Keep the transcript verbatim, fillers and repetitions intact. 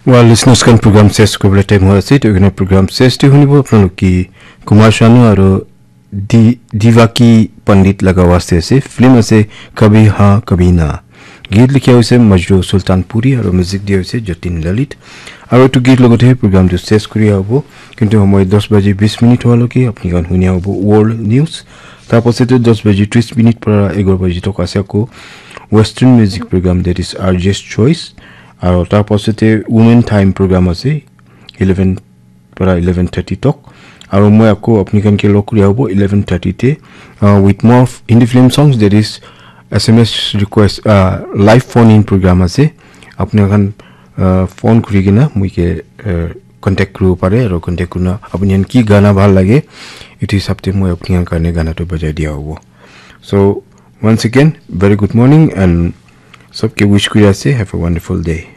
Well, listeners, kan program ses kobole time hoi ase. To ekna program ses te hunibo apnalok ki Kumar Sanu aro Di Divaki Pandit laga waste ase. Film ase Kabhi Ha Kabhi Na. Git likha hoise Majru Sultan Puri aro music dia hoise Jatin Lalit. Aro etu git logote program tu ses kuri abo. Kintu homoi dos baji bis minute hoa loke apni kan hunia hobo World News. Tar pasate dos baji tris minute para egor baji tok ase ako Western music program, that is R J's Choice. Aro tar pasate Women Time program ase eleven para eleven thirty tok. Aro moi ako apni kan ke log kuri abo eleven thirty te, uh, with more f- Hindi film songs, that is S M S request, uh, live phone in program ase. Apni kan, uh, phone kuri kena moi ke, uh, contact kuri pare aro contact kurina apni kan ki gana bhal lage, etu hisab te moi apni kan karne gana to bajai dia hobo. So once again, very good morning and sabke wish kuri ase, have a wonderful day.